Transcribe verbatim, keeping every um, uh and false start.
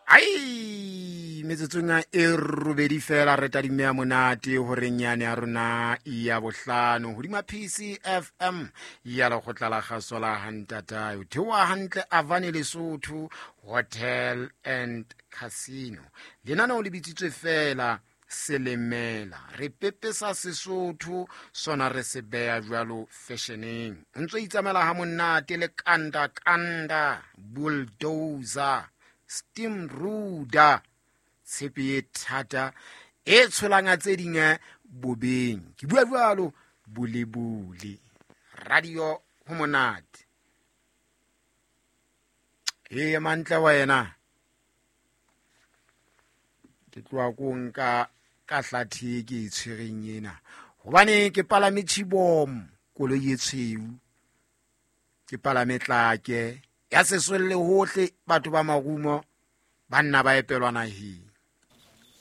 Ai, metsotsong e robedi fela re tadime ya monate horeng yane ya rona ya bohlano hodima P C F M ya lekgotla la kgaso la hantatae. O theoha hantle Avane Lesotho Hotel and Casino. Lenaneo le bitsitswe fela Selemela. Re pepesa Sesotho sona, re se beha jwalo fashioneng. O ntso itsamaela ha monate le kanda kanda bulldozer steam ruder, tshepe e thata e tsholanga tse ding bobeng. Ke bua jwalo bolebole radio ho monate e mantle. Wena ke tloha ko nka ka hlathe e ke e tshwereng ena, hobane ke palame chibom, koloi e tshweu. Ke palame tlake ya sesolle hohle, batho ba marumo, banna ba epelwa naheng.